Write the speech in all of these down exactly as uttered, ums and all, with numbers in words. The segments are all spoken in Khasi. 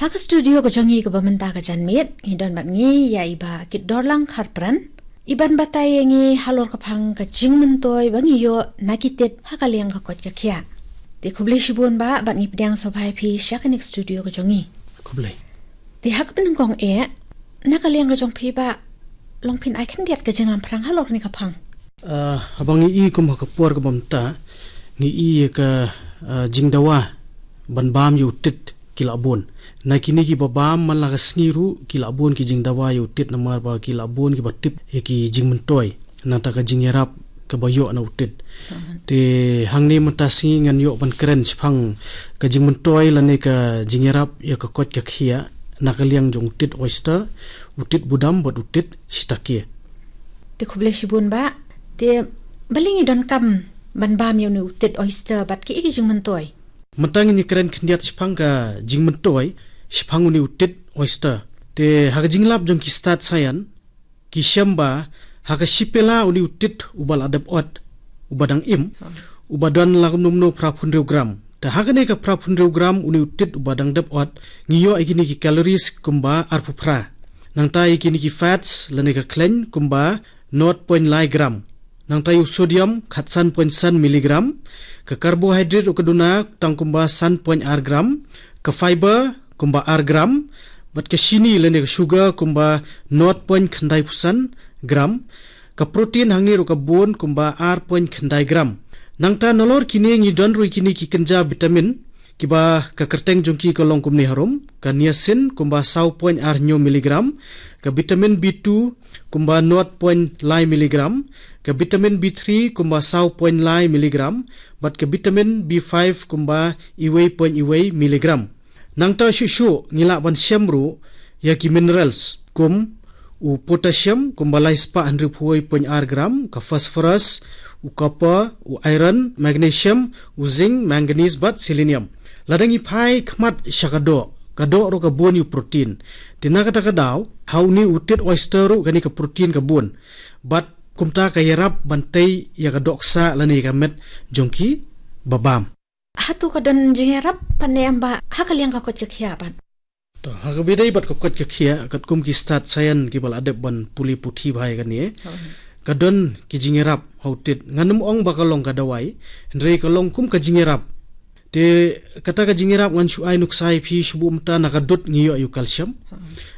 Ha ka studio ka jong ngi kaba mynta ka janmiet, ngi don bad ngi ïa i Bah Kitdorlang Kharpran, i ban batai ïa ngi halor ka phang ka jingmyntoi ba ngi ïoh na ki tit ha ka liang ka koit ka khiah. Te khublei shibun Bah, bad ngi pdiang sngewbha ïa phi sha kane ka studio ka jong ngi. Khublei. Te ha kaba nyngkong eh, na ka liang ka jong phi Bah, long phin ai khyndiat ka jinglamphrang halor kane ka phang. Ah, haba ngi i kum ha ka por kaba mynta, ngi i ïa ka, ah, jingdawa ban bam ïa u tit ki la bun. Na kine kiba bam man la ka sngi ruh ki la bun ki jingdawa ïa u tit, namar ba ki la bun kiba tip ïa ki jingmyntoi nangta ka jingïarap kaba ïoh na u tit. Te hangne mynta sngi ngan ïoh ban kren shaphang ka jingmyntoi lane ka jingïarap ïa ka koit ka khiah na ka liang jong u tit oyster, u tit budam bad u tit shiitake. Te khublei shibun Bah. Te balei ngi donkam ban bam ïa une u tit oyster bad kiei ki jingmyntoi? Mynta ngin ïa kren khyndiat shaphang ka jingmyntoi shaphang une u tit oyster. Te ha ka jinglap jong ki stad saian, ki shem ba ha ka shi pela une u tit uba la dep ot, uba dang im, uba don la kumno kumno phra phew hynriew gram. Te ha kane ka phra phew hynriew gram une u tit uba dang dep ot, ngi ïoh ïa kine ki calories kumba arphew phra. Nangta ïa kine ki fats lane ka khleiñ kumba nought point lai gram. Nangta ïa u sodium khatsan point san miligram. Ka carbohydrate ruh ka duna tang kumba san point ar gram. Ka fiber kumba ar gram. Bad ka shini lane ka sugar kumba nought point khyndai phew san gram. Ka protein hangne ruh ka bun kumba ar point khyndai gram. Nangta nalor kine ngi don ruh ïa kine ki kynja vitamin, kiba ka kyrteng jong ki ka long kumne harum, ka niacin kumba saw point ar hynñiew miligram, ka vitamin B two kumba nought point lai miligram, ka vitamin B three kumba saw point lai miligram, bad ka vitamin B five kumba iwei point iwei miligram. Nangta shuh shuh ngi lah ban shem ruh ïa ki minerals kum u potassium kumba lai spah hynriew phew wei point ar gram, ka phosphorus, u copper, u iron, magnesium, u zinc, manganese bad selenium. Lada ngi phai khmat sha ka doh, ka doh ruh ka bun ïa u protein. Te na kata ka daw, ha une u tit oyster ruh kane ka protein ka bun. Bad kumta ka ïarap ban tei ïa ka dohksa lane ïa ka met jong kiba bam. Hato ka don jingïarap pat ne em Bah ha ka liang ka koit ka khiah pat? To, ha kaba ïadei bad ka koit ka khiah, katkum ki stad saian kiba la dep ban pule puthi bha ïa kane, ka don ki jingïarap ha u tit. Ngan ym ong ba ka long ka dawai, hynrei ka long kum ka jingïarap. Te kata ka jingïarap ngan shu ai nuksa ïa phi, shu buh mynta na ka dud ngi ïoh ïa u calcium,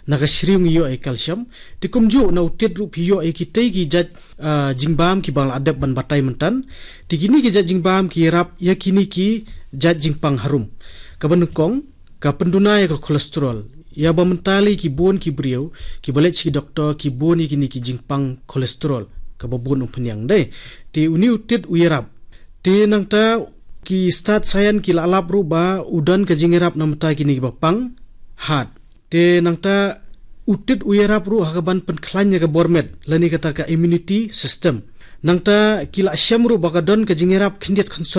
na ka shriew ngi ïoh ïa u calcium. Te kumjuh na u tit ruh phi ïoh ïa kitei ki jait, ah, jingbam kiba la dep ban batai mynta. Te kine ki jait jingbam ki ïarap ïa kine ki jait jingpang harum. Kaba nyngkong, ka pynduna ïa ka cholesterol. Ïa ba mynta lei ki bun ki briew kiba leit sha ki doktor ki bun ïa kine ki jingpang cholesterol, kaba bun umphniang dei. Te une u tit u ïarap. Te nangta ki stad saian ki la lap ruh ba u don ka jingïarap na bynta kine kiba pang heart. Te nangta u tit u ïarap ruh ha kaban pynkhlaiñ ïa ka bor met lane kata ka immunity system. Nangta ki la shem ruh ba ka don ka jingïarap khyndiat khyndiat